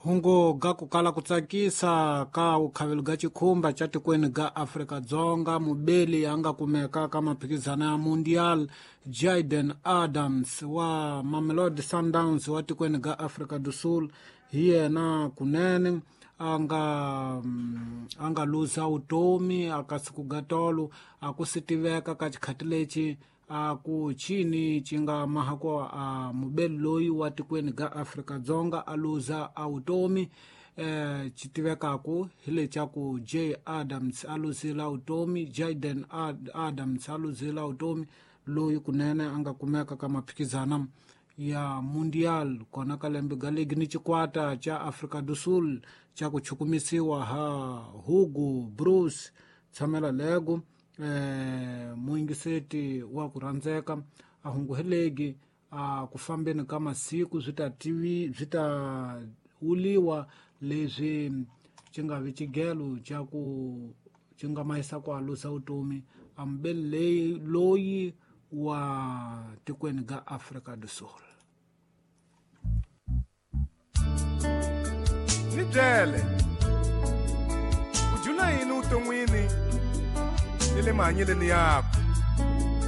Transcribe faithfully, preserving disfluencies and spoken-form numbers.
Hungu ga kukala kutsakisa ka ukhavelo ga chikhumba cha tikweni ga Afrika-Dzonga mubeli anga kumeka ka maphikizano ya Mundial Jayden Adams wa Mamelodi Sundowns wa tikweni ga Afrika do Sul hi yena kunene anga anga luza utomi akasiku ga tolo akusi tiveka ka xikhati lexi a ku chini ci nga mahako a mubeli loyi wa tikweni ga Afrika-Dzonga a luza a utomi eh ci tivekaku hi lecaku J Adams a luzila utomi Jayden Ad Adams a luzila utomi loyi kunene a nga kumeka ka maphikizana ya Mundial kona ka lembe ga ligi ni xikwata cha Afrika do Sul cha ku chukumisiwa ha Hugo Broos tshamela lego eh muingiseti wa ku rhandzeka a hunguhelegi a ku fambeni ka masiku swi ta tivi swi ta wuliwa leswi xi nga vi xigelo xa ku xi nga mahisa ku alusa vutomi a mubeli leyi loyi wa tikweni ga Afrika do Sul. Ni byele u jula yini vuton'wini ni le mahanyeleni yakho.